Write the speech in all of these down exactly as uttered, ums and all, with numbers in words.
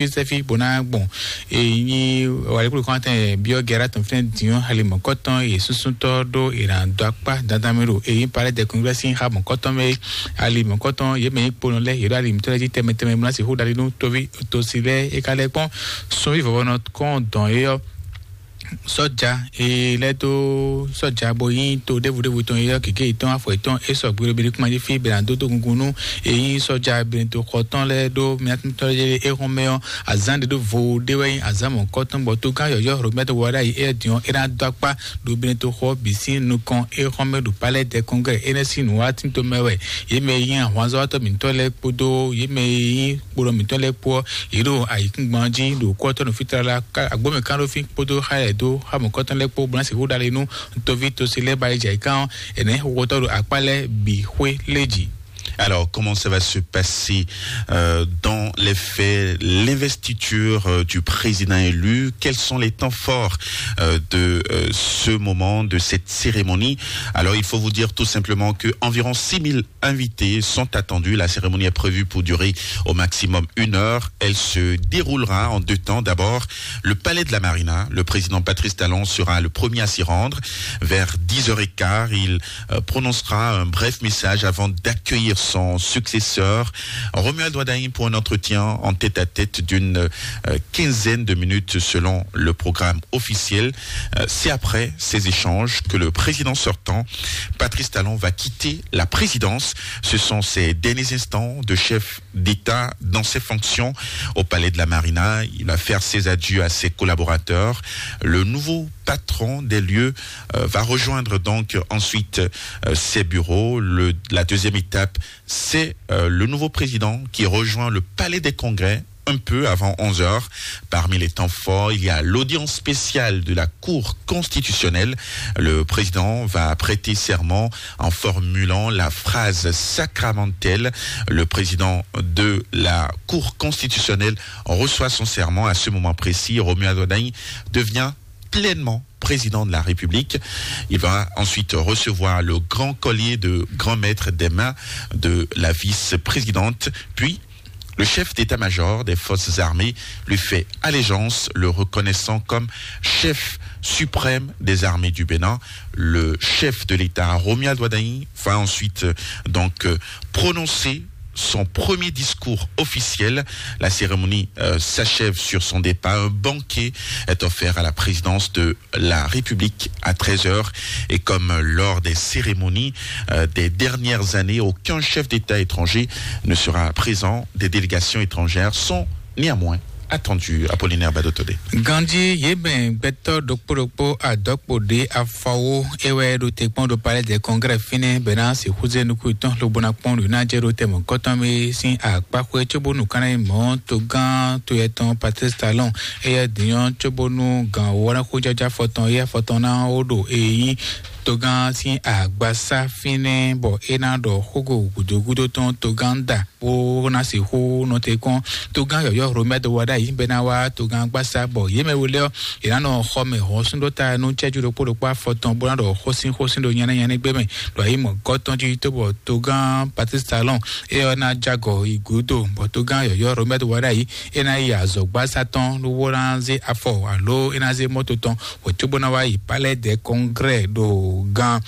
sɛ́fí bó ná gbɔn èyí wàlíkúlù kɔn tɛn biɔ gɛra tɔn fínɛ diɔ ali mɔkɔtɔn yé súnsúntɔ ɖó ìràndɔ akpá dandan mi ɖo èyí parẹ́ dɛkun gbɛsí ha mɔkɔtɔn mɛ ali mɔkɔtɔn yé mɛ yí kponɔ lɛ yé ɖo ali mítɔn lɛ jí tɛmɛ tɛmɛ mlá sixú ɖali nú tóví tosi lɛ é ka lɛ kpɔn sunví vɔvɔnɔ kɔn dɔn é yɔ sɔja e lɛ dó sɔja bó yí to ɖévu ɖévu tɔn yɔ kéké yitɔn afɔ yitɔn é sɔ gbé ɖo bíɖí kúma jí fí bɛlɛ dó dó gungun nú èyí sɔja bɛlɛ tó xɔ tɔn lɛ ɖó miatúntɔ yé é xɔn mɛ ɔ azán ɖé ɖó vo ɖé wɛ nyí azán mɔ̌kɔtɔn bɔ tó gán yɔyɔ robert wada yi é diɔn é ná dó akpá ɖo bɛlɛ tó xɔ bǐ sín nukɔn é xɔn mɛ ɖo palais de congrès é nɛ sín nǔwá tínto mɛ wɛ yé mɛ yí ahwanzɔ́wátɔ mǐtɔn lɛ́ɛ kpódó yé mɛ yí kpóɖɔ mǐtɔn lɛ́ɛ kpó ɔ́, yě ɖo ayǐkúngban jí ɖo kú ɔ́ tɔ́ nɔ fí tlala agbǒmɛ kánɖófín kpódó xá lɛ́ɛ dó xá mɔ̌kɔtɔn lɛ́ɛ kpó bó ná sixú ɖale nú toví tosi lɛ́ɛ ba yi jɛ ayǐká ɔ́, ɛnɛ́ xóxótɔ́ ɖo akpá lɛ́ɛ bǐ xwé lé jí. Alors, comment ça va se passer euh, dans les faits, l'investiture euh, du président élu? Quels sont les temps forts euh, de euh, ce moment, de cette cérémonie? Alors, il faut vous dire tout simplement que environ six mille invités sont attendus. La cérémonie est prévue pour durer au maximum une heure. Elle se déroulera en deux temps. D'abord, le palais de la Marina. Le président Patrice Talon sera le premier à s'y rendre. Vers dix heures et quart, il euh, prononcera un bref message avant d'accueillir son successeur, Romuald Wadagni, pour un entretien en tête-à-tête d'une euh, quinzaine de minutes selon le programme officiel. Euh, c'est après ces échanges que le président sortant, Patrice Talon, va quitter la présidence. Ce sont ses derniers instants de chef d'État dans ses fonctions au palais de la Marina. Il va faire ses adieux à ses collaborateurs. Le nouveau patron des lieux euh, va rejoindre donc ensuite euh, ses bureaux. Le- la deuxième étape, c'est euh, le nouveau président qui rejoint le palais des congrès un peu avant onze heures. Parmi les temps forts, il y a l'audience spéciale de la Cour constitutionnelle. Le président va prêter serment en formulant la phrase sacramentelle. Le président de la Cour constitutionnelle reçoit son serment. À ce moment précis, Romuald Wadagni devient pleinement président de la République. Il va ensuite recevoir le grand collier de grand maître des mains de la vice-présidente, puis le chef d'état-major des forces armées lui fait allégeance, le reconnaissant comme chef suprême des armées du Bénin. Le chef de l'État, Romuald Wadagni, va ensuite euh, donc euh, prononcer son premier discours officiel. La cérémonie euh, s'achève sur son départ. Un banquet est offert à la présidence de la République à treize heures. Et comme lors des cérémonies euh, des dernières années, aucun chef d'État étranger ne sera présent. Des délégations étrangères sont néanmoins attendues. Apollinaire Badotodé. Ganji yé bɛn gbɛtɔ ɖokpó ɖokpó adɔkpo ɖé afɔwo é wɛ ɖo te kpɔn ɖo palais de congrès fínɛ́ bɛná sixú zé nukú tɔn lobona kpɔn ɖo ná jɛ ɖo tɛmɛ kɔtɔn mi sín akpáxwé cóbónú kánná yi mɔ̌ togán toyɛtɔn Patrice Talon. Éyɛ́ dǐnyɔ́ cóbónú gǎn wó ná xójájá fɔtɔn éyɛ́ fɔtɔn ná wó ɖo èyí togán sín agbasá fínɛ́ bɔ é ná ɖɔ xógo gǔdógúdó tɔn togán da bó ná sixú nɔ te kpɔn togán yɔ̌yɔ́ Romɛ́ do wa ɖ'ayǐ bɛ́ ná wá togán gbasá bɔ yě mɛ we lɛ́ɛ ɔ́, yě ná nɔ xɔ mɛ hɔn sún ɖó ta nú cɛ́jú ɖokpó ɖokpó afɔtɔn bó ná ɖɔ xósín xósín ɖo nyɛ́nɛ́ nyɛ́nɛ́ gbé mɛ ɖo ayǐ mɔ̌ gɔ́ tɔn jí tó bɔ togán Patrice Talon é ɔ́ ná jágɔ yi gǔdo bɔ togán yɔ̌yɔ́ Romɛ́ do wa ɖ'ayǐ é ná yi azɔ̌gbásá tɔn lówó ná zé afɔ alo é ná zé mɔ́to tɔn wǒ cóbó ná wá yi palais de congrès ɖo gán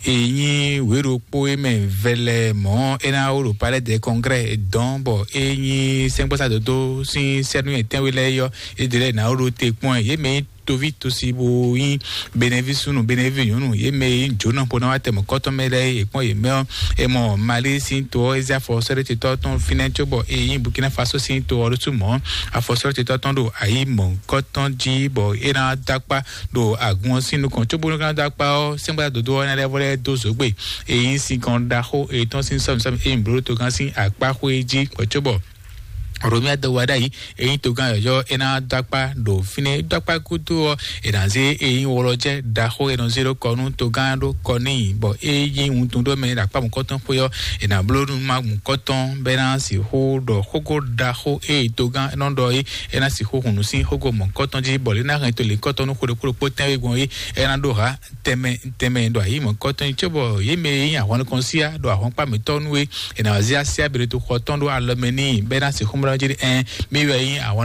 èyí wěɖokpó é mɛ vɛlɛ mɔ̌ é ná wó ɖo palais de congrès dɔn bɔ é nyí sɛ́ngbɔ́sá dodó sín sɛ́nú etɛ́nwe lɛ́ɛ yɔ é ɖe lɛ́ɛ ná wó ɖo te kpɔ́n ɛ yě mɛ nyí toví tosi bo nyí benevi súnnu benevi nyɔ̌nu yě mɛ e nyí jǒnɔ bo ná wá tɛ mɔ̌kɔ́tɔn mɛ lɛ́ɛ é kpɔ́n yě mɛ ɔ́ é mɔ mali sín to ɔ́ é zé afɔ sɔ́ɖétetɔ́ tɔn fínɛ́ cóbɔ é nyí burkina faso sín to ɔ́ ɖésú mɔ̌ afɔ sɔ́ɖétetɔ́ tɔn ɖo ayǐ mɔ̌kɔ́tɔn jí bɔ é ná dó akpá ɖo agun ɔ́ sín nukɔn cóbó nɔ ká dó akpá ɔ́ sɛ́ngbá dodó ɔ́ ná lɛ́ vɔ lɛ́ dó zǒgbè é nyí sinkɔn ɖaxó etɔn sín sɔ́mìsɔ́mì é nyí blǒɖó togán sín akpáxwé jí kpɔ́ cóbɔ Romia do wa ɖ'ayǐ é nyí togán yɔ̌yɔ́ é ná dó akpá ɖo fínɛ́ é dó akpá gúdo ɔ́ é ná zé é nyí wɔlɔjɛ́ ɖaxó é nɔ zé ɖó kɔ nú togán ɖó kɔ n'i bɔ é nyí wuntun ɖó mɛ ɖo akpá mɔ̌kɔtɔn xwé ɔ́ é ná bló nú má mɔ̌kɔtɔn bɔ é ná sixú ɖɔ xógó ɖaxó é nyí togán é nɔ ɖɔ é é ná sixú hun nǔ sín xógó mɔ̌kɔtɔn jí bɔ é ná hɛn to lěkɔtɔn nú xó ɖokpó ɖokpó tɛ́nwe gbɔn é é ná ɖó hǎ tɛnmɛ tɛnmɛ ɖo ayǐ mɔ̌kɔtɔn jí cóbɔ yě mɛ e nyí ahwan nukɔn síá ɖo ahwankpá mǐtɔn nú é è nǎ zé así abǐɖotoxɔ tɔn ɖó alɔ mɛ n'i bɔ é ná sixú mlɔ́ jí ɖe ɛn, mi wɛ nyí ahwan